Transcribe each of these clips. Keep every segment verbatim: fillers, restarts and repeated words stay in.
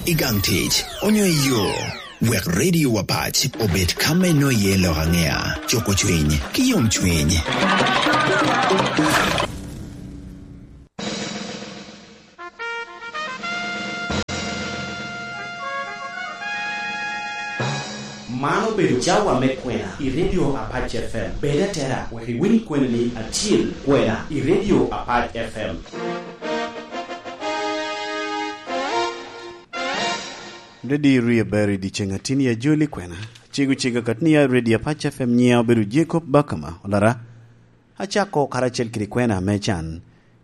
I gang tic, onyo i yo, wek Radio Apac obed ka me noye lok angea, cuko cwiny, ki yom cwiny. Man obedo cawa me kwena i Radio Apac F M. Bed atera wek iwiny kwenani acil, kwena i Radio Apac F M. Redi rie ber i dyeceŋ atin ya joli kwena. Cego cega kat ni ya Redi Apac F M, nyiŋa obedo Jacob Bakama, olara. Acako karacel kede kwena me can.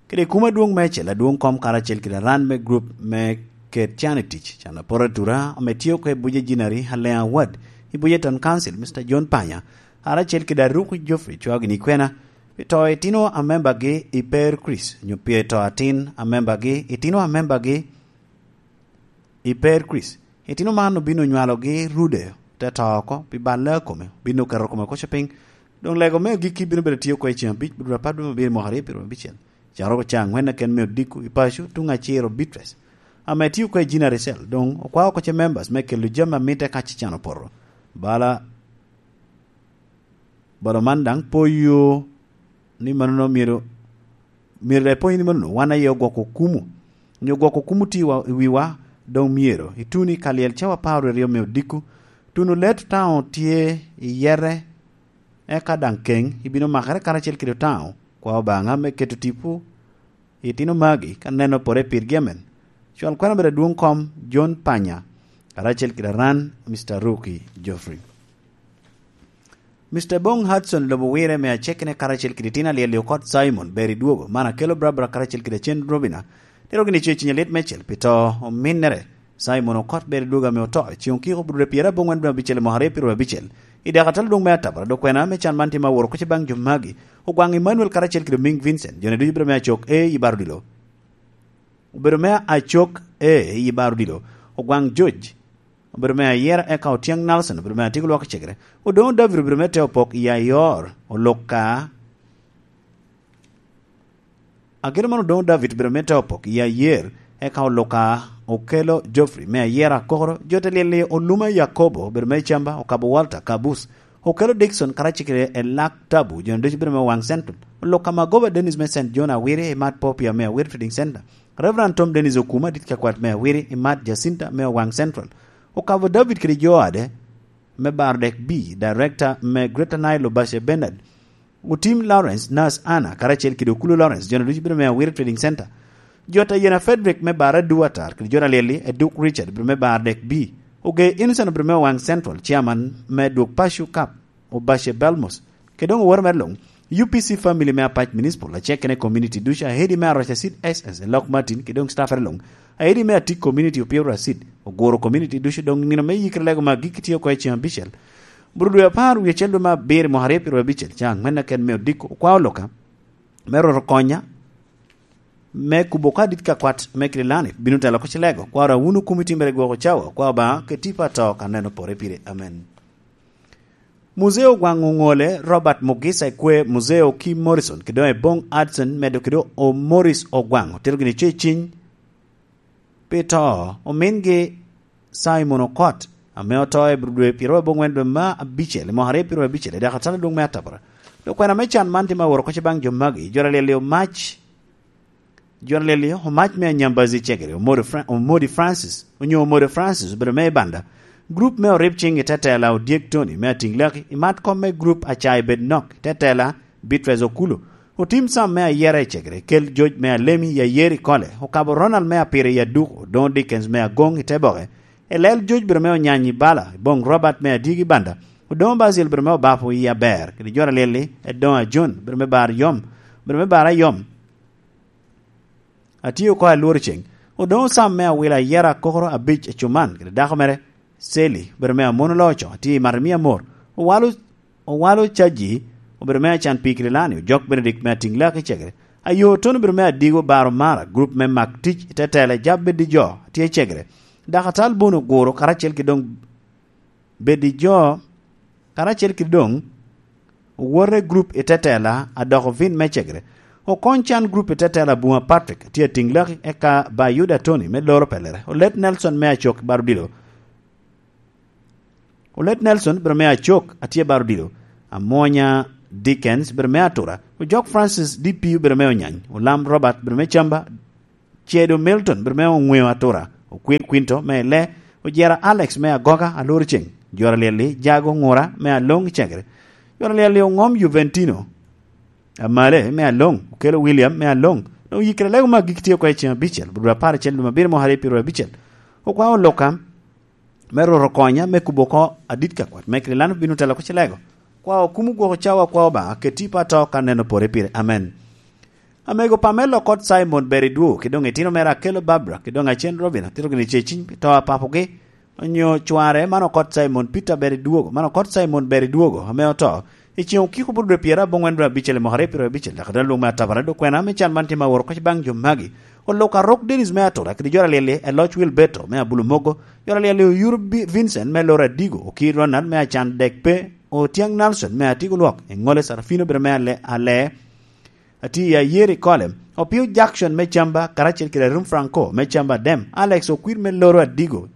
Kede kuma adwoŋ me acel, adwoŋ kom karacel kede aran me group me ket can i tic, can aporo atura, ame tye oko i Buje Jinari, Aleŋ Awad, i Buje Town Council, Mister John Panya, karacel kede Aruku Geoffrey cwao gini kwena, pi to itino a membagi i Per Chris, onyo pi to atin a membagi, itino a membagi i Per Chris. Itino man obino nywalogi rude, te to oko, pi balle a kome, obino keto kome koco piny. Doŋ lego me agikki bino bedo tye oko i ceŋ abic, bino apar dwe me abiro mwaka aryo pyeraryo abicel. Caroko ca aŋwen aken me odiko i paco, tuŋ aciro Beatrice, ame tye oko i Jinari Cell, doŋ okwao oko ce members me kelo jami a mitte ka ce can opoto. Bala Balo man daŋ poyo ni manono myero, myero daŋ ipoyo ni manono wan aye ogwoko kumu, onyo gwoko kumu tye wa, i wiwa, doŋ myero ituni ka lyel cawa apar wie aryo me odiko, tuno leto taŋo tye i yete, eka daŋ keŋ ibino makere karacel kede otaŋo kwa Obaŋa me keto tipo itino magi ka neno pore pirgi amen. Cwal kwena bedo adwoŋ kom John Panya, karacel kede aran Mister Ruki Geoffrey. Mister Bong Hudson lobo wire me acekene karacel kede itino alyel okot Simon ber i dwogo, man akelo Barbara karacel kede Cen Robina, tero gini co i ciny alit mecel pi to ominnere. Simon okot ber i dwogo ame oto, i ceŋ okiko budure pyera aboŋwen dwe abicel i mwaka aryo pyeraryo abicel. I dek atal dwoŋ me atabara, dok kwena me can man tye ma woro kuc baŋ jo magi, Ogwaŋ Emmanuel karacel kede Oming Vincent, jone ducu bedo me acok e i bar odilo. Obedo me acok e i bar odilo. Ogwaŋ George obedo me ayera, eka Otyeng Nelson obedo me atiko lwak i cegere. Odoŋo David obedo me te opok i ayor, Oluka. Ageno man Odoŋo David obedo me te opok i ayer, eka Oluka okelo Geoffrey me ayera akokoro, jo te lyel-li Oluma Yakobo obedo me Camba, Okabo Walter Kabus, okelo Dickson karacel kede Elak Tabu, jone ducu bedo me Waŋ Central, Oluka Magoba Dennis me Saint John Awiri i Mat Popia me Awiri Trading Center, Reverend Tom Dennis Okuma dit ka kwat me Awiri i Mat Jacinta me Owaŋ Central, Okabo David kede jo ade me Bardek B, Director me Greater Nile Obashe Bernard, Otim Lawrence, Nurse Anna, karacel kede Okulu Lawrence, jone ducu bedo me Awiri Trading Center, Jota Yena Frederick me Bara Duatar, kede jona lyel-li, Eduk Richard bedo me Bardek B, Ogee Innocent bedo me Owaŋ Central, Chairman me Dwok Paco Cup, Obashe Belmos, kede doŋ oworo mere luŋ, U P C family me Apac Municipal, acek kene community ducu, Ahedi me Aroca Seed S S, Elok Martin, kede doŋ staffere luŋ, Ahedi me Atik community, Opio Racid, Oguro community ducu, doŋ nino me yikere lego me agikki tye oko i ceŋ abicel. Buru dwe apar wie acel dwe me abiro i mwaka aryo pyeraryo abicel, ca aŋwen aken me odiko, okwao Oluka me Rwot okonya me kubo ka dit ka kwat me Kirilani bino telo oko cilego, kwaro awuno kumi timere gwoko cawa, kwa Obaŋa ke tipo ato ka neno pore pire. Amen. Muzeo Ogwaŋ Oŋole, Robert Mugisa Ekwe, Muzeo Kim Morrison, kede doŋ Ebong Hudson, medo kede o Morris Ogwaŋ, otero gini co i ciny pi to omingi Simon Okot, ame oto i dwe pyeraryo aboŋwen dwe me abicel, i mwaka aryo pyeraryo abicel, i dakatal adwoŋ me atabara. Dok kwena me can man tye ma woro koc baŋ jo magi, jo alyel-li omac, jo alyel-li omac me anyambazi cegere, Omodi Fra-, Omodi Francis, onyo Omodi Francis obedo me i banda. Grup me orib ciŋ i tetela Odyek Tony me Atiŋ Laki, i mat kom me grup Acai Bed Nok i tetela Beatrice Okulu, Otim Sam me ayera i cegere, Kel Joc me Alemi i Ayeri Kole, Okabo Ronald me Apire i Aduku, Odoŋo Dickens me Agoŋ i Teboke, Elel Joc bedo me Onyanyi Bala, Boŋ Robert me Adyegi Banda, Odoŋo Basil bedo me Obapo i Aber, kede jo alyel-li, Edoŋo Ajon bedo me Bar Yom, bedo me Bar Ayom, Atye oko alworo ceŋ, Odoŋo Sam me Awila ayera akokoro abic acuman, kede dako mere, Seli, obedo me Amon Oloco, atye i mato i mi amor. Owalo, owalo Caji, obedo me Acan Pii Kirilani, Ojok Benedict me Atiŋ Laki cegere. Ayo Tony obedo me Adigo Baro Mara, grup me Mak Tic i Tetela, Jab Bed i Jo, atye cegere. Dakatal Bono Oguro, karacel ki doŋ Bed i Jo, karacel ki doŋ, owote grup i Tetela, adoko vin me cegere. Okony Can Group i te tela Abuma Patrick tye atiŋ laki, eka Bayuda Tony me loro pelere, Olet Nelson me Acok i Barudilo, Olet Nelson bere me Acok atye baro odilo, Amwonya Dickens bere me Atura, Ojok Francis D P bere me Onyany, Olam Robert bere me Camba, Cedo Milton bere me Oŋweo Atura, Okwir Quinto me Ele, Ojera Alex me Agoga Alor Ceng, Jora Lyelli Jago Ŋura me Aloŋ i Cegere, Jora Lyelli Oŋom Juventino Amale me Aloŋ, Okelo William me Aloŋ, doŋ yikere lego me agik tye oko i ceŋ abicel, bur apar acel dwe me abiro mwaka aryo pyeraryo abicel. Okwao Luka me Rwot okonya me kubo oko adit ka kwat me Krilano bino telo oko cilego. Kwa okumo gwoko cawa kwa Obaŋa, ket tipo ato ka neno pore pire. Amen. Amego pa me Lokot Simon ber i dwogo, ki doŋ itino mere Akelo Barbara, ki doŋ Acen Robina, tito gini ce ciny pi to a papogi, onyo cware, man Okot Simon Peter ber i dwogo, man Okot Simon ber i dwogo, ame oto, i ceŋ okiko bur dwe pyerabongwen dwe abicel i mwaka aryo pyeraryo abicel, dok adal lwong me atabara, dok kwena me can man tye ma woro kec baŋ jo magi. Oluka Rok Dennis me Atura, kede Jora Lyelli, Eloc Wilberto me Abulu Mogo, Jora Lyelli Oyur Bi-, Vincent me Loro Adigo, Okir Ronald me Acan Dek Pe, Otiaŋ Nelson me Atigo Lwok, Eŋole Sarafino bere me Ale-, Ale, Ati Ayeri Kole, Opio Jackson me Camba, karacel kede Arum Franco me Camba Dem, Alex Okwir me Loro Adigo,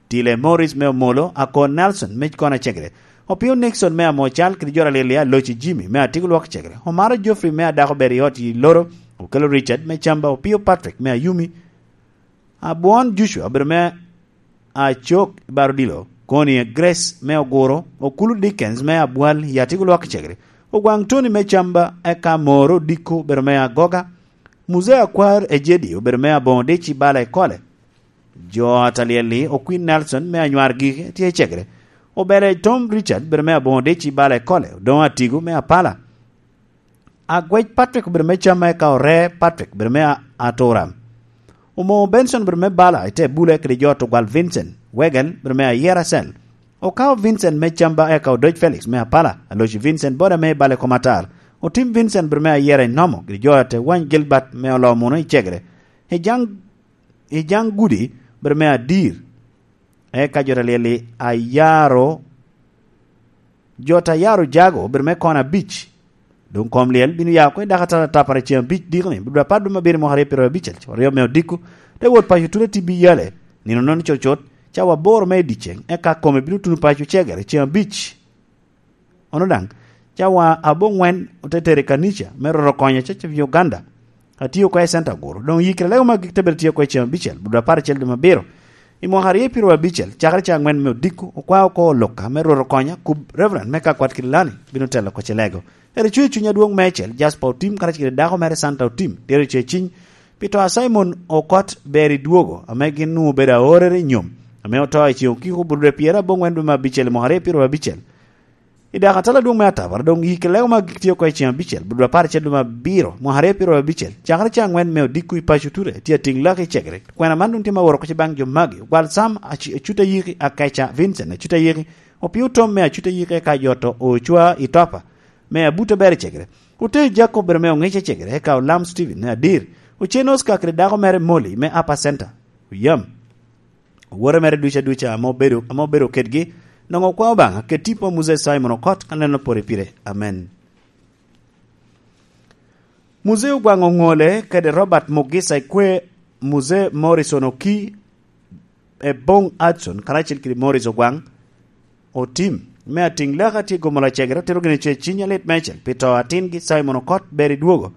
Tile Morris me Omolo, Akon Nelson me Kona Cegere, Opio Nixon me Amocal, kede Jora Lyelli Aloci Jimmy me Atigo Lwok Cegere, Omaro Geoffrey me Adako Ber i Ot i Loro, Okelo Richard me Camba, Opio Patrick me Ayumi, Abwon Joshua obedo me Acok i Barudilo, Koni Grace me Oguro, Okulu Dickens me Abwal i Atigo Lwok Cegere, Ogwaŋ Tony me Camba, eka Moro Diko obedo me Agoga, Muzee Akwar Ejedi obedo me Aboŋo Dic i Bala i Kole, Jo Atalyelli, Okwin Nelson me Anywar Gigi tye i Cegere, Obele Tom Richard obedo me Aboŋo Dic i Bala i Kole, Odoŋo Atigo me Apala, Agwec Patrick obedo me Camba, eka Ore Patrick obedo me A-, Atura. Omo Benson obedo me Bala i te Bule kede jo Tugwal Vincent, Wegel obedo me Ayera Cell. Okao Vincent me Camba, eka Odoc Felix me Apala, Aloci Vincent boda me Bale Komatar. Otim Vincent obedo me Ayera i Nomo, kede jo a te wany Gilbert me Olomuno i Cegere. I Jaŋ, i Jaŋ Gudi obedo me Adir. Eka jo ta lyel-li ayaro, jo ta yaro jago obedo me kono abic. Doŋ kom lyel bino ya oko i dako atata tapara ceŋ abic dikoni, bur apar dwe me abiro mwaka aryo pyeraryo abicel, co aryo me odiko, te wot paco tuno tibbi yale, nino nono cocot, cawa aboro me i dyeceŋ, eka kome bino tuno paco Cegere ceŋ abic. Ono daŋ, cawa aboŋwen ote tero i kanica me Rwot okonya Church of Uganda, atio oko i Center Guru. Doŋ yikere lego me agik te bedo tye oko i ceŋ abicel, bur apar acel dwe me abiro. I mwaka aryo pyeraryo abicel, cakere ca aŋwen me odiko, okwao oko Oluka me Rwot okonya, kub Reverend me Kakwat Kililani bino telo oko cilego. Ero icuŋ i cuny adwoŋ meicel, Jasper Otim karacel kede dako mere Santa Otim, dyere ce ciny, pi to a Simon Okot ber i dwogo, ame gin nwoŋo obedo aorere i nyom, ame oto i ceŋ okiko bur dwe pyerabongwen dwe me abicel i mwaka aryo pyeraryo abicel. I dako atala adwoŋ me atabara, doŋ yikere lego me agik tye oko i ceŋ abicel, bur dwe apar acel dwe me abiro, mwaka aryo pyeraryo abicel, cakere ca aŋwen me odiko i paco Ture, tye atiŋ laki i Cegere. Kwena man doŋ tye ma woro oko baŋ jo magi, Ogwal Sam Acu-, Acuta Yiki, Akeca Vincent Acuta Yiki, Opio Tom me Acuta Yiki, eka jo to Ocwa i Topa me Abuta ber i Cegere, Ote Jacob bere me Oŋica i Cegere, eka Olam Stephen me Adir, Ocen Oscar kede dako mere Molly me Upper Center, Oyam. Owote mere ducu aduca ame obedo, ame obedo kedgi, nwoŋo okwa Obaŋa, ket tipo a Muzee Simon Okot, ka neno pore pire. Amen. Muzee Ogwaŋ Oŋole kede Robert Mugisa Ikwe, Muzee Morrison Oki, Eboŋ Hudson, karacel kede Morris Ogwaŋ Otim, me atiŋ leka tye gomo lacegere, otero gini ce ciny alit meicel, pi to atingi Simon Okot ber i dwogo,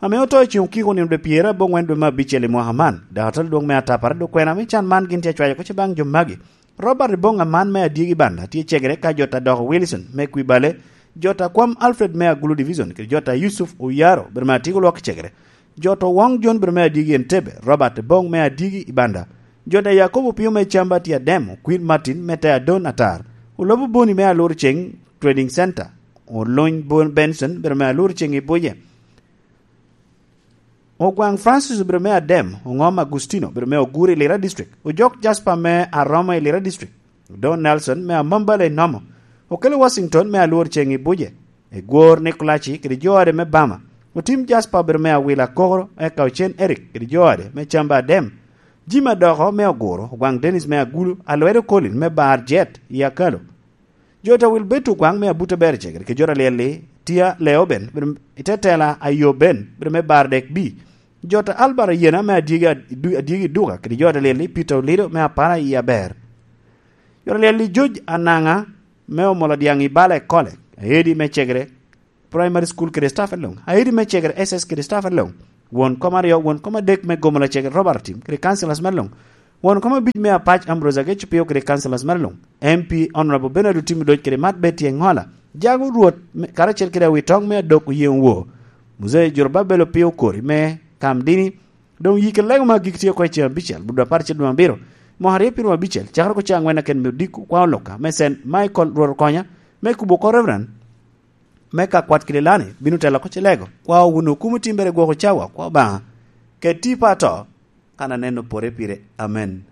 ame oto i ceŋ okiko nino dwe pyerabongwen dwe me abicel i mwaka man, dok atol dwoŋ me atapara dok kwena me can man gin tye acwayo oko ce baŋ jo magi. Robert Eboŋ Aman me Adyegi Banda tye Cegere, ka jo ta doko Wilson me Kwibale, jo ta kwam Alfred me Agulu Division, kede jo ta Yusuf Oyaro, bere me Atigo Lwok Cegere, jo ta Owoŋ Jon, bere me Adyegi Entebbe, Robert Eboŋ me Adyegi i Banda, jo ta Yakobo Opio me Camba tye Adem, Okwir Martin me te Adon Atar, Olobo Boni me Alur Ceŋ Trading Center, Oluny Bon-, Benson, bere me Alur Ceŋ i Buje. Ogwaŋ Francis obedo me Adem, Oŋom Agustino obedo me Oguri i Lira District, Ojok Jasper me Aroma i Lira District, Don Nelson me Amambala i Nomo, Okelo Washington me Alwor Ceŋ i Buje, Egwor Nikolaci kede jo ode me Bama, Otim Jasper obedo me Awila Kokoro, eka Ocen Eric kede jo ode me Camba Adem, Jim Adoko me Oguro, Ogwaŋ Dennis me Agulu, Alwedo Colin me Bar Jet i Akalo, Jo ta Wilberto Ogwaŋ me Abuto Ber Cegere kede jo ta Lyelli Tia Leoben, bedo i te tela a Yoben, bedo me Bardek B. Jo ta Albert Ayena me Adyegi, Adu-, Adyegi Duka kede jo ta Lyelli Peter Olido me Apara i Aber. Jo ta Lyelli George Anaŋa me Omolo Dyaŋ i Bala Ekole, Aedi me Cegere Primary School kede staff luŋ, Aedi me Cegere S S kede staff luŋ, won kom aryo, won kom adek me Gomola Cegere Robert Tim kede councillors me luŋ, won kom abic me Apac Ambrose Ageco Pio kede councillors me luŋ, M P Honorable Bernard Otim Odoc kede Mat Betty Engola, Jago Rwot me, karacel kede Awitoŋ me Adok Oyeŋ Wo, Muzei Jorobabel Opio Okori me Kamdini, doŋ yik lego me agik tye oko i ceŋ abicel, Budapar cel dwe abiro, mwaka aryo pyedo abicel, cakere oko ceŋ aŋwen aken me odiko, kwa oluka, me Saint Michael Rwot Okonya, me kubo oko Reverend, me ka kwat kede lani bino telo oko cilego, kwa owuno okumo timbere gwoko cawa, kwa Obaŋa, keti pa ato, kan aneno pore pire. Amen.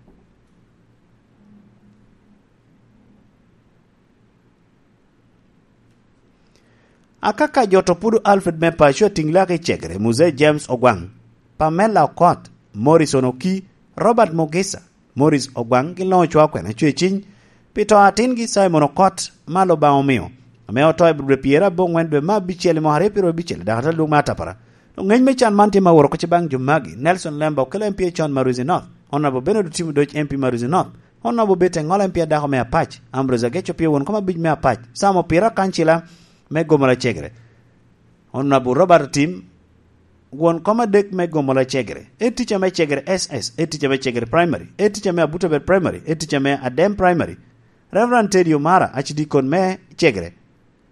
Akaka jo to pudo Alfred me Paco atiŋ lak i Cegere, Muzei James Ogwaŋ, Pamela Okot, Morrison Oki, Robert Mugisa, Morris Ogwaŋ gin luŋ ocwao kwena cweciny pi to atingi Simon Okot, malo Obaŋa omio, ame oto i dwe pyerabwoŋwen dwe me abicel i mwaka aryo pyedo abicel i dakatal adwoŋ me Atapara. Doŋ ŋec me can man tye ma woro oko baŋ jo magi: Nelson Lemba okelo M P A con Maruzi North, Honorable Bernard Otim Odoc M P Maruzi North, Honorable Betty Engola M P A dako me Apac, Ambrose Ageco Pio won kom abic me Apac, Sam Opira kancila me Gomola Cegere, Honorable Robert Otim, won kom adek me Gomola Cegere, e tica me Cegere S S, e tica me Cegere Primary, e tica me Abutabel Primary, e tica me Adem Primary, Reverend Teddy Omara, acidikon me Cegere,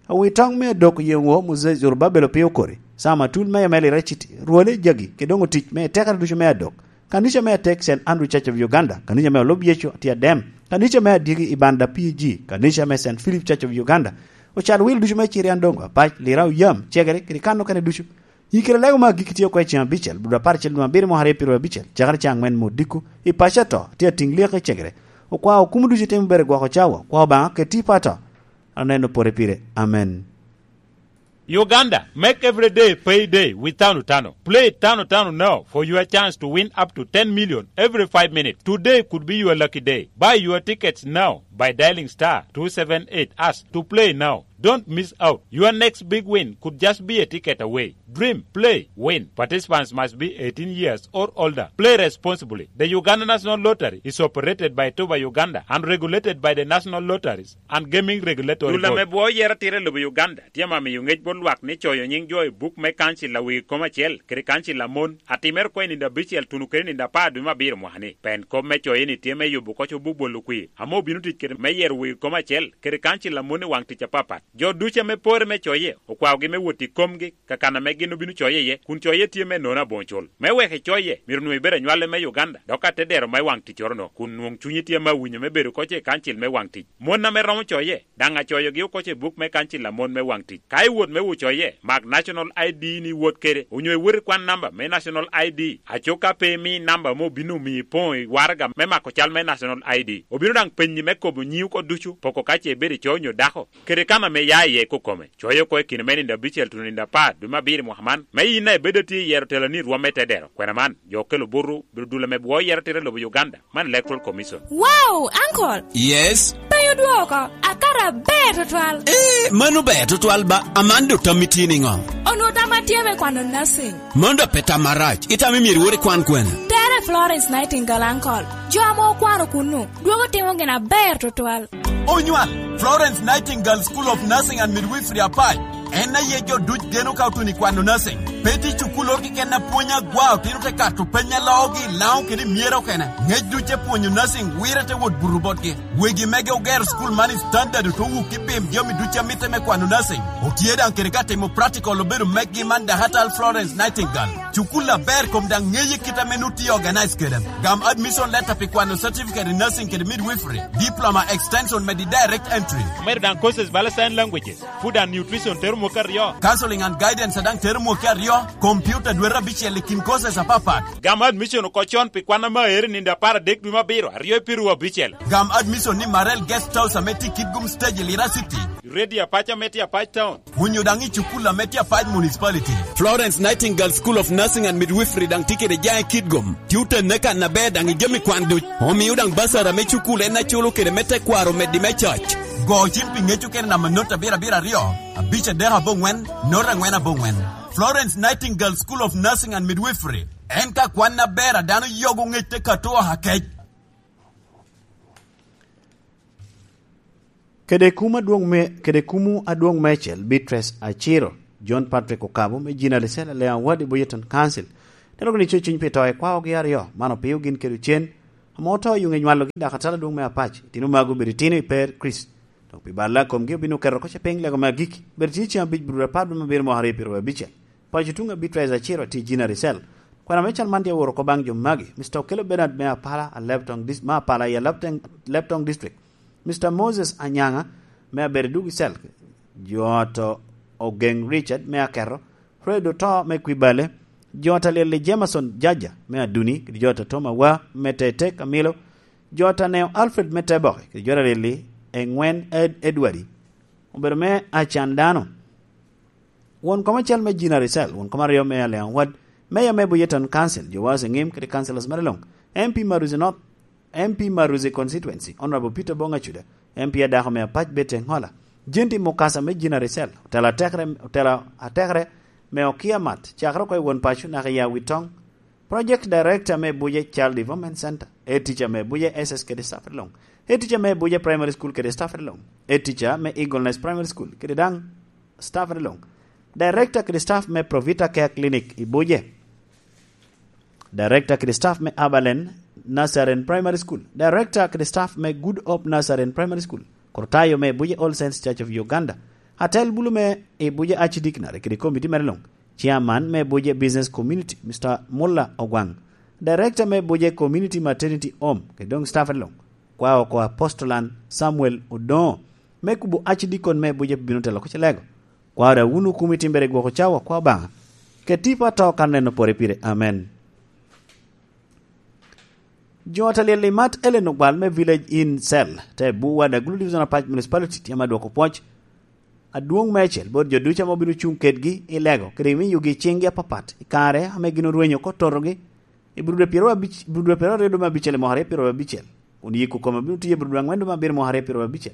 Awitoŋ me Adok Yeŋo, Moses Zorobabel Opio Okori, Sam Atul me Emeli Reciti, Rwole Jagi, kede doŋ otic me tekere ducu me Adok, kanica me atek Saint Andrew Church of Uganda, kanica me Olub Yecu tye Adem, kanica me Adyegi i Banda P G, kanica me Saint Philip Church of Uganda, ocal wil ducu me Cirian Dongo, Apac, Lira, Oyam, Cegere, kede kan okene ducu. Yikere lego me agikki tye oko i ceŋ abicel, dwe apar acel, dwe abiro, mwaka aryo pyedo abicel, cakere caŋ aŋwen me odiko, i paco ato, tye atiŋ lyek i Cegere. Okwao okumo ducu itimo bere gwoko cawa, kwa Obaŋa keti i pato. Aneno pore pire. Amen. Uganda, make every day pay day with Tano Tano. Play Tano Tano now for your chance to win up to ten million every five minutes. Today could be your lucky day. Buy your tickets now by dialing star two seven eight hash to play now. Don't miss out. Your next big win could just be a ticket away. Dream, play, win. Participants must be eighteen years or older. Play responsibly. The Uganda National Lottery is operated by Toba Uganda and regulated by the National Lotteries and Gaming Regulatory Board. Dul ame bwoo yero atira i lobo Uganda tye ame miyo ŋec bot lwak ni coyo nyiŋ jo i buk me kancil a wegi kom acel kede kancil a mon, atimere oko i nino abicel tuno kede nino apar dwe me abiro mwaka-ni. Pen kop me coye-ni tye me yubo koc obuk bolo kwir ame obino tic kede me yero wegi kom acel kede kancil a mon i waŋ tic apapat. Jo ducu ame pore me coye okwaogi me wot i komgi, ka kan ame gin obino coye iye, kun coye tye me nono aboŋo cul. Me wek icoye, myero onwoŋo ibed anywale me Uganda, dok atedero me waŋ ticcoro-no, kun nwoŋ cunyi tye ame awinyo me bedo koc i kancil me waŋ tic. Mon ame romo coye, daŋ acoyogi oko i buk me kancil a mon me waŋ tic. Ka iwot me wot coye, mak National I D ni iwot kede, onyo iwot ikwan namba me National I D. Aco ka pe imi namba ame obino omiyo ipoŋo i waraga me mako cal me National I D, obino daŋ penyi me kobo nyiŋi oko ducu, poko ka ce ibedo i co onyo dako, kede kan ame ia iye kokome. Coye oko i kine me nino abicel tuno nino apar dwe me abiro i mwaka man, me yin a ibedo atye i yero teloni i rwom me tedero. Kwena man, jo okelo buto, bedo dul ame bwoo yero atira i lobo Uganda, man Electoral Commission. Wow, Uncle! Yes? Pe odwoko, akato aber tutwal. Eh, mano ber tutwal ba, Amando tammi tye niŋo? Onwoŋo tamma tye me kwano nursing. Mano dok pe tam marac, itamo myero iwot ikwan kwene? Tere Florence Nightingale, Uncle. Jo ame okwano kunnu, dwogo timo gin aber tutwal. Onywal, Florence Nightingale School of Nursing and Midwifery Apac. En aye jo duc geno ka otuno i kwano nursing. Pe tye cukul oro keken a pwonyo agwa otino te kato peny a loogi i Laŋo kede i Myero okene. Ŋec duc te pwonyo nursing wire te wot buto botgi. Wegi mege ogero cukul man i standard ote wuk i pim jami duc a mitte me kwano nursing. Otye daŋ kede ka timo practical obedo meggi man Dahatal Florence Nightingale. Cukul aber kom daŋ ŋeye kit ame nut tye organize kede. Gam admission letter pi kwano certificate in nursing kede midwifery, diploma extension medi direct entry. Medo daŋ courses bala sign languages, food and nutrition tero mwaka aryo. Counseling and guidance daŋ tero mwaka aryo, computer dwete abicel i kin courses apapat. Gam admission oko con pi kwan ame aero i nino apar adek dwe me abiro, aryo i piru abicel. Gam admission ni Marel Guest House ame tye i Kitgum Stage i Lira City. Ready Apac ame tye Apac Town. Onyo daŋ i cukul ame tye Apac Municipality. Florence Nightingale School of Nursing and Midwifery daŋ tye kede jaŋ i Kitgum. Tye otenne kan aber daŋ i jami kwan duc. Omio daŋ basara me cukul en aculo kede me tekwaro meddi me coc. Go cim pi ŋec okene namba not abiro abiro aryo, abic adek aboŋwen, not angwen aboŋwen. Florence Nightingale School of Nursing and Midwifery. En ka kwan aber a dano yogo ŋec te kato oha kec. Kede kum adwoŋ me, kede kumu adwoŋ meicel, Beatrice Aciro, John Patrick Okabo, me Gina Lisel, Alea Award i Boyeton Council. Tero gini co cuny pi to i kwaogi aryo, man opio gin kede ocen, ame oto i ŋe nywalogi, dok atala adwoŋ me Apac. Itino magu obedo itino i per Kricito. Dok pi balla a komgi obino keto oko ce piny lego me agikki. Obedo tye ceŋ abic, bur apar dwe me abiro mwaka aryo piro abicel. Paco tuŋ a Beatrice Aciro tye Gina Lisel. Kwena me cal man tye aworo oko baŋ jo magi, Mister Okello Bernard me Apala, Alebtong Dis-, me Apala i Alebteng-, Alebtong District. Mister Moses Anyaŋa me Abedo Dug i Cel, jo ot Ogeŋ Richard me Aketo, Fred Oto me Kwibale, jo ot Alyel i Jameson Jaja me Aduni, kede jo ot Tom Awa me Tete Kamilo, jo ot Aneo Alfred me Teboke, kede jo ot Alyel i Eŋwen Ed-, Edward, obedo me acan dano. Won kom acel me Gina Risel, won kom aryo me Alliang Ward, Mayor me Buye Town Council, Jowas Eŋim kede councillors mere luŋ, M P Maruzi North, M P Maruzi Constituency, Honorable Peter Bong Acuda, M P adako me Apac Betty Eŋola, Jenti Mukasa me Gina Risel, otela atekere, otela atekere me Okia Mat, cakere oko i won paco naka i Awitoŋ, Project Director me Buje Child Development Center, Head Teacher me Buje S S kede staff luŋ, Head Teacher me Buje Primary School kede staff luŋ, Head Teacher me Eagle Nest Primary School kede daŋ staff luŋ, Director kede staff me Provita Care Clinic i Buje, Director kede staff me Abalen Nursery and Primary School, Director kede staff me Good Hope Nursery and Primary School, Kurtayo me Buje All Saints Church of Uganda, Atel Bulu me i Buje Archdeaconry kede committee mere luŋ, Chairman me Buje Business Community, Mister Mulla Ogwaŋ, Director me Buje Community Maternity Home, kede doŋ staff luŋ, kwa oko Apostolan Samuel Odoŋo, me kubo Archdeacon me Buje bino telo oko Celego. Kwa da wunu kumi timbere gwoko cawa, kwa Obaŋa. Ket tipo ato kan neno pore pire. Amen. Jo ot Alyel i Mat Ellen Ogwal me Village Inn Cell, te Buwa, Dagulu Division Apac Municipality, tye ame dwoko pwoc adwoŋ meicel bot jo ducu ame obino cuŋ kedgi i lego, kede i miyogi ciŋgi apapat i kare ame gin orwenyo oko totogi i Burude pyero abic, Burude pyero aryo dwe me abicel i mwaka aryo pyero abicel, kun yiko kome bino tiyo i Burude aŋwen dwe me abiro mwaka aryo pyero abicel.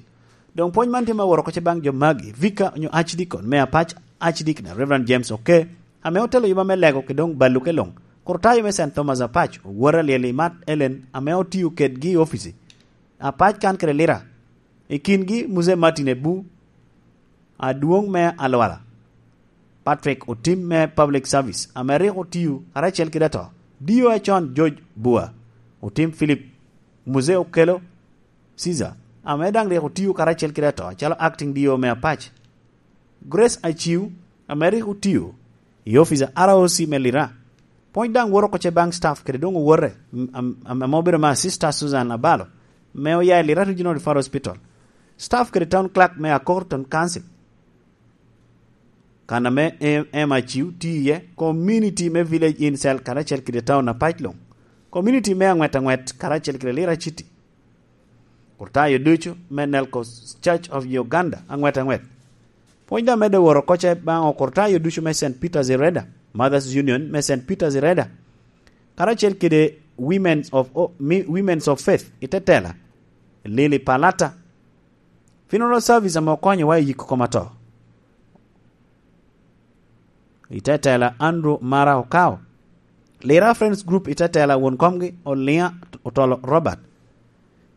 Doŋ pwony man tye me woro oko ce baŋ jo magi, Vika onyo Archdeacon me Apac, Archdeacon Reverend James Oke, ame otelo yuba me lego kede doŋ balo ke luŋ, Kurtayo me Saint Thomas Apac, Owor Alyel i Mat Ellen, ame otio kedgi i opici Apac kan kede Lira, i kingi Mzee Martin Ebu, adwoŋ me Alwala, Patrick Otim me Public Service, ame rik otio karacel kede ato, D O acon George Bua, Otim Philip, Mzee Okello Caesar, ame daŋ rik otio karacel kede ato acalo Acting D O me Apac, Grace Aciu, ame rik otio i opic a R O C me Lira. Pwony daŋ woro oko ce baŋ staff kede doŋ owote, am-, am-, ame obedo me Sister Susan Abalo, me oya i Lira Regional Referral Hospital. Staff kede Town Clerk me Akor Town Council, kan ame M-, M Aciu tye iye, community me Village Inn Cell karacel kede town Apac luŋ, community me Aŋwet Aŋwet karacel kede Lira City. Kurtayo ducu me Nelco Church of Uganda, Aŋwet Aŋwet. Pwony daŋ medde woro oko ce baŋ okurtayo ducu me Saint Peter's Ireda, Mothers Union me Saint Peter's Ireda, karacel kede Women's of, o-, mi-, Women's of Faith i Tetela, Lily Palata. Funeral service ame okonyowa i yiko koma to. I Tetela, Andrew Mara Okao. Lira Friends Group i Tetela, won komgi Oliŋa Otolo Robert.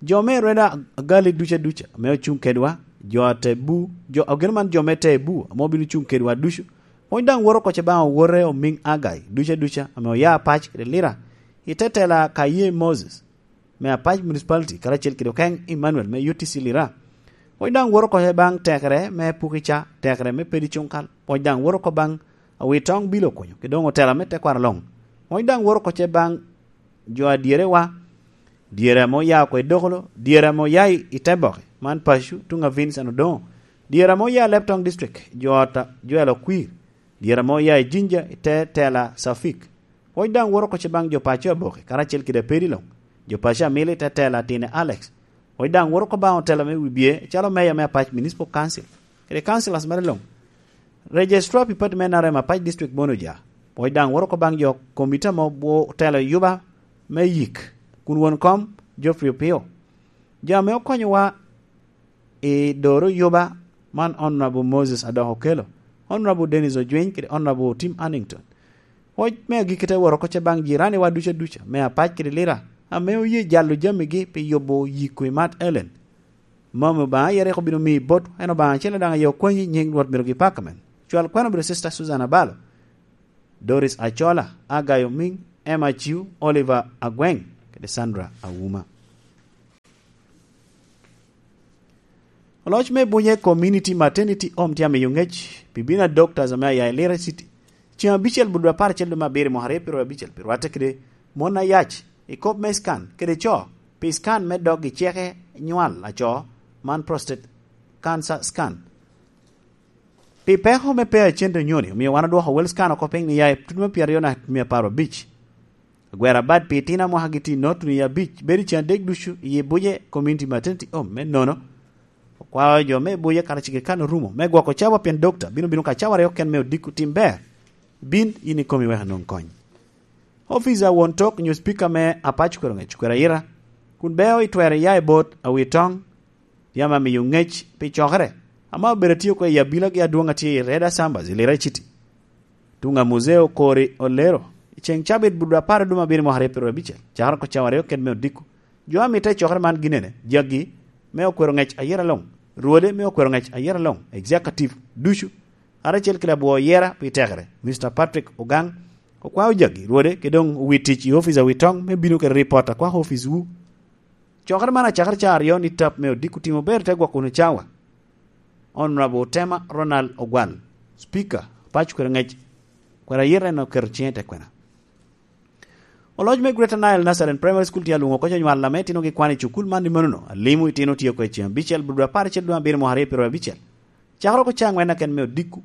Jo me Rweda Agali duca duca ame ocuŋ kedwa, jo a Tebu, jo, ageno man jo me Tebu ame obino cuŋ kedwa ducu. Pwony daŋ woro oko ce baŋ owote Omiŋ Agai duca duca ame oya Apac kede Lira. I Tetela, Kaye Moses me Apac Municipality, karacel kede Okeŋ Emmanuel me U T C Lira. Pwony daŋ woro oko ce baŋ tekere me Pukica, tekere me Pedi Cuŋkal. Pwony daŋ woro oko baŋ Awitoŋ Bilo Okunyo, kede doŋ otela me tekwaro luŋ. Pwony daŋ woro oko ce baŋ jo a dyere wa, dyere ame oya oko i Dokolo, dyere ame oya i, i Teboke, man paco, tuŋ a Vincent Odoŋo, dyere ame oya i Leptong District, jo ot a Joel Okwir, dyere ame oya i Jinja, i Tetela Safik. Pwony daŋ woro oko ce baŋ jo paco Aboke, karacel kede Apedi luŋ, jo paco Amili, Tetela Tine Alex. Pwony daŋ woro oko baŋ otela me Wibye, calo Mayor me Apac Municipal Council. kede councillors mere luŋ. Registrar pi party me N R M Apac District Bono Oja, pwoc daŋ woro oko baŋ jo komiti ame otelo yuba me yik, kun won kom Geoffrey Opio. Jo ame okonyowa i doro yuba man Honorable Moses Adok Okello, Honorable Dennis Ojwiny kede Honorable Tim Annington. Pwoc me agikki te woro oko ce baŋ jiraniwa ducu aduca me Apac kede Lira ame oye jalo jamigi pi yubo yiko i Mount Ellen. Mom Obaŋa aye rik obino miyi bot, en Obaŋa acel daŋ aye okwanyi, nyiŋ Rwot myero gipakamen. Cwal kwena obedo Sister Susan Abalo, Doris Acola, Agayo Miŋ, Emma Ciu, Oliver Agweng, kede Sandra Awuma. Oloc me bunye Community Maternity Home tye amiyo ŋec pi bino a doctors ame aya i Lira City. Ceŋ abicel but apar acel dwe me abiro mwaka aryo pyeraryo abicel pi rwatte kede mon ayac i kop me scan kede co pi scan me dog i ceke nywal aco, man prostate cancer scan. Pi peko me pe acente onyoni, omio wan odwoko wel scan oko piny ni ya i tutu me pyeraryo naka mia apar abic. Agwero abad pi itino a mwakagi tye note ni abic bedo i cen adek ducu i Ibuje Community Maternity Home me nono. Okwao jo me Ibuje kara cik kan orumo me gwoko cawa pien dokta bino bino ka cawa aryo ken me odiko tim ber. Bin yin ikomi wek anwoŋ kony. Ofica won tok nyo speaker me Apac kwero ŋec kwero ayira, kun beo itwero iya i bot awi toŋ, yam amiyo ŋec pi cokere, ame obedo atye oko i abila gi adwoŋ atye i Reda Sambas i Lira City. Tuŋ a Muzeo Kori Olero, i ceŋ cabit budo apar dum abiro mwaka aryo pyeraryo abicel, cakere oko cawa aryo kede me odiko, jo a mitte i cokere man ginene, jagi me okwero ŋec ayera loŋ, rwode me okwero ŋec ayera loŋ, executive ducu, karacel kede abwo yera pi tekere, Mister Patrick Ogang, okwao jagi rwode, ke doŋ owi tic i office awi toŋ me bino kede ripot akwako office wu. Cokere man acakere ca aryo ni tap me odiko timo ber te gwoko wunu cawa. Honorable Tema Ronald Ogwal, Speaker, Apac kwero ŋec, kwero ayet en oketo ciŋe i te kwena. Oloc me Greater Nile Nazarene Primary School tye alwoŋo oko conywal ame itino gi kwan i cukul man i manono, alimo itino tye oko i ceŋ abicel, budo apar acel dwe abiro mwaka aryo pyeraryo abicel. Cakere oko ca angwen aken me odiko,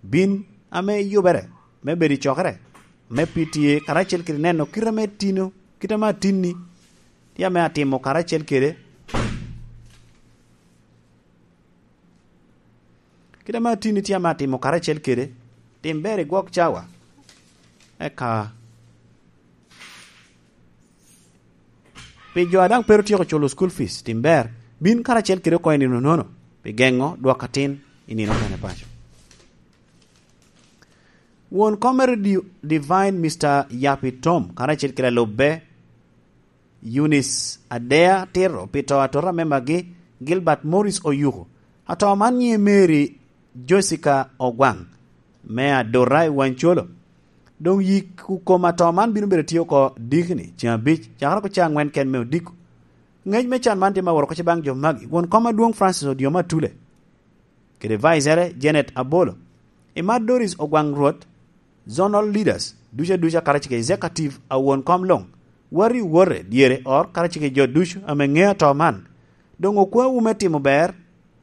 bin ame yubere me bedo i cokere, me pi tye karacel kede neno kite ame tino, kite ame atinni tye ame atimo karacel kede, kite ame atinni tye ame atimo karacel kede, tim ber i gwok cawa. Eka pi jo a daŋ pe ru tyeko culo school fees, tim ber, bin karacel kede oko i nino nono, pi geŋo dwok atin i nino okene paco. Won kom me Radio Divine, Mister Yapi Tom, karacel kede alubbe, Eunice Adea Tiro, pi to atota me magi, Gilbert Morris Oyuko. Ato man nyiŋe Mary Jessica Ogwaŋ, me Adora i Wancolo. Doŋ yik kom ato man bino bedo tye oko dikni, ceŋ abic, cakere oko ca angwen ken me odiko. Ŋec me can man tye ma woro oko ce baŋ jo magi, won kom adwoŋ Francis Odyoma Atule, kede Vice-ere Janet Abolo. I mar Doris Ogwaŋ Rwot, zonal leaders ducu aduca karacel kede executive a won kom luŋ, wati owote dyere ot karacel kede jo ducu ame ŋeo ato man. Doŋ okwawu me timo ber,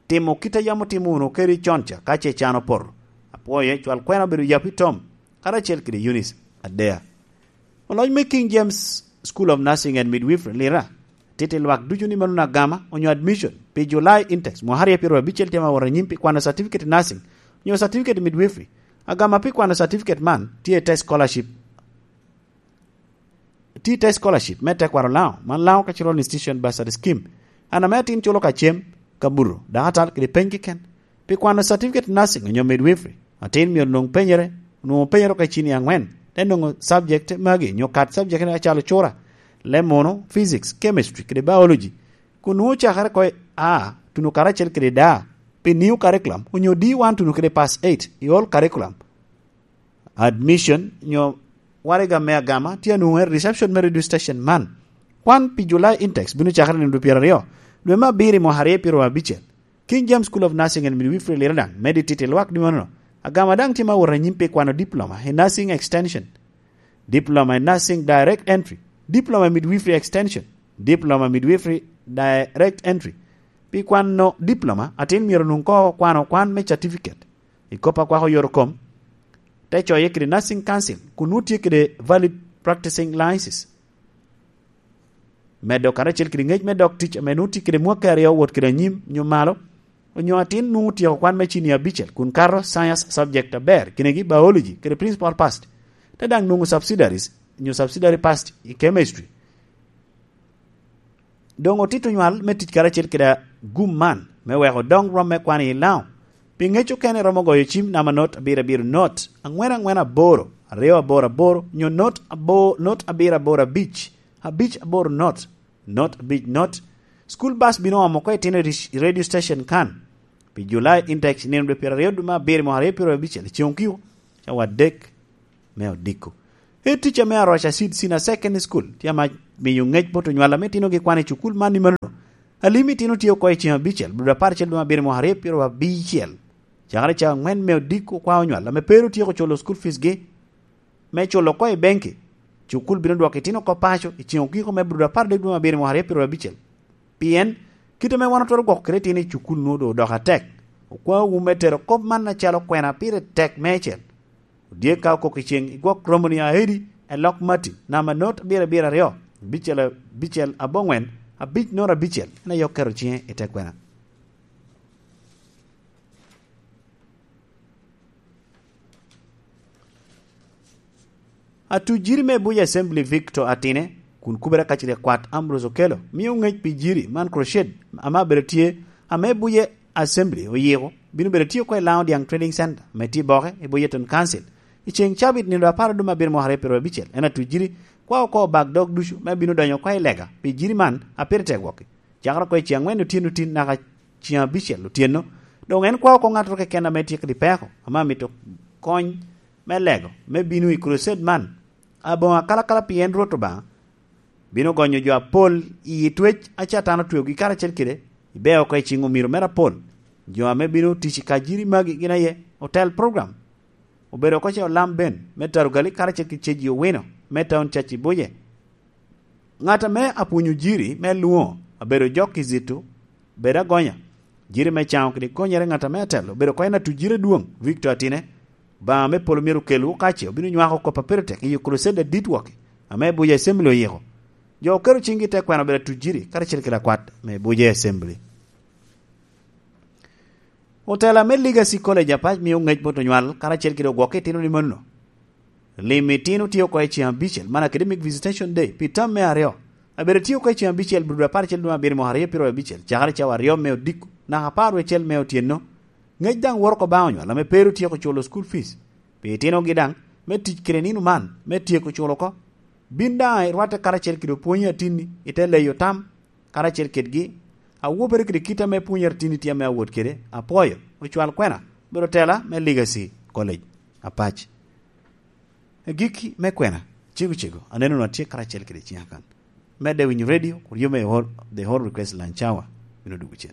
timo kit a yam otimo wunu kede con ca ka ce can opoto. Apwoye, cwal kwena obedo Yapi Tom, karacel kede Eunice Adea. Oloc me King James School of Nursing and Midwifery Lira, tito lwak ducu ni mano agama onyo admission pi July intakes mwaka aryo pyeraryo abicel tye ma wot anyim pi kwano certificate nursing onyo certificate midwifery. Agama pi kwano certificate man tye i te scholarship, tye i te scholarship me tekwaro Lango, man Lango Cultural Institution Bursary Scheme. An ame atin culo ka cem, ka buto, dakatal kede peny keken. Pi kwano certificate nursing onyo midwifery, atin myero onwoŋ penyere, onwoŋo penyere oko i cini angwen, te nwoŋo subject magi nyo kat subject acalo cura, leb munu, physics, chemistry, kede biology. Kun nwoŋo cakere oko i A tuno karacel kede D, pi new curriculum, onyo D one tuno kede pass eight i old curriculum. Admission nyo waraga me agama tye anwoŋe reception me radio station man. Kwan pi July intakes bino cakere nino dwe pyeraryo, dwe me abiro i mwaka aryo pyeraryo abicel. King James School of Nursing and Midwifery Lira daŋ medo i titi lwak ni manono. Agama daŋ tye ma wot anyim pi kwano diploma i nursing extension, diploma i nursing direct entry, diploma i midwifery extension, diploma i midwifery direct entry. Pi kwano diploma, atin myero onwoŋ ko kwano kwan me certificate i kop akwako yot kom, te coye kede nursing council, kun nwoŋo tye kede valid practicing license. Medo karacel kede ŋec me dok tic ame nwoŋo tye kede mwakki aryo wot kede anyim nyo malo, Onyo atin nwoŋo tyeko kwan me cinia abicel kun kato science subject aber, kinegi biology kede principal past, te daŋ nwoŋo subsidiaries onyo subsidiary past i chemistry. Doŋ otito nywal me tic karacel kede agum man me weko doŋ rwom me kwan i Laŋo. Pi ŋec okene romo goyo cim namba not abiro abiro not aŋwen aŋwen aboro, aryo aboro aboro, nyo not abo-, not abiro aboro abic, abic aboro not, not abic not. School bus bino omo oko itino i ris-, i radio station kan. Pi July index nino dwe pyeraryo dwe me abiro mwaka aryo pyeraryo abicel i ceŋ okiko, cawa adek me odiko. Head teacher me Aroca Seed Senior Secondary School tye ama miyo ŋec bot onywal ame itinogi kwan i cukul man i manono. Alim itino tye oko i ceŋ abicel, bludo apar acel dwe me abiro mwaka aryo pyeraryo abicel. Cakere ca aŋwen me odiko kwa onywal ame pe ru tyeko culo school fees gi. Me culo oko i benki, cukul bino dwoko itino oko paco i ceŋ okiko me bludo apar adek dwe me abiro mwaka aryo pyeraryo abicel. Pien kite ame wan otwero gwoko kede itino i cukul nwoŋo doŋ odoko atek. Okwaŋwu me tero kop man acalo kwena pire tek meicel. Odye ka okok i ceŋ igwok romoni aedi, elok mati, namba not abiro abiro aryo, abicel abicel aboŋwen, abic not abicel, en aye oketo ciŋe i te kwena. Atujiri me Buja Assembly Victor Atine, kun kubere kacel i kwat Ambrose Okello, mio ŋec pi jiri man crusade ame abedo tye, ame Buja Assembly oyiko, bino bedo tye oko i Laŋo Diaŋ Trading Center, ame tye i Boke, i Buja Town Council, i ceŋ cabit nino apar adum abiro mwaka aryo pyeraryo abicel. En atujiri kwa oko bak dog ducu, me bino donyo oko i lega, pi jiri man, a pire tek gwokki. Cakere oko i ceŋ aŋwen otyeno tin naka ceŋ abicel otyeno, doŋ en kwao oko ŋattoro keken ame tye kede peko, ame amito kony me lego, me bino i crusade man. Aboŋo akalakala pien Rwot Obaŋa bino gonyo jo apol i twec a Catan otweogi karacel kede, i beo oko i ciŋ omiro mere apol. Jo ame bino tic i kajiri magi gin aye Hotel Program, obedo oko ce olam ben me Tarugali karacel ki Ceji Owino me Town Church i Buje. Ŋat ame apwonyo jiri me lwoŋo abedo jok i zito, bedo agonya. Jiri me caŋo kede konyere ŋat ame atelo obedo oko en atujire dwoŋ, Victor Atine. Obaŋa me polo myero okelwu okace, obino nywako kop a pire tek i crusade adit wok, ame Buja Assembly oyiko. Jo oketo ciŋgi i te kwena obedo atujiri karacel kede akwat me Buja Assembly. Otela me Legacy College apac mio ŋec bot onywal karacel kede ogwokke itino ni mano. Lim itino tye oko i ceŋ abicel, man academic visitation day, pi tam me aryo. Abedo tye oko i ceŋ abicel, bludo apar acel dwe abiro mwaka aryo pyeraryo abicel, cakere cawa aryo me odiko, naka apar wecel me otyeno. Ŋec daŋ woro oko baŋ onywal ame pe ru tyeko culo school fees. Pi itinogi daŋ, me tic kede nino man, me tyeko culo oko. Bin daŋ irwatte karacel kede opwonyi atinni, i te leyo tam, karacel kedgi, awobere kede kit ame pwony atinni tye ame awot kede, apwoyo, ocwal kwena, bedo tela me Legacy College. Apac. Agikki me kwena, cego cego, aneno nwa tye karacel kede ciŋa kan. Medde winyo radio, kur yome i hall, the hall request lunch hour, bino dugo cen.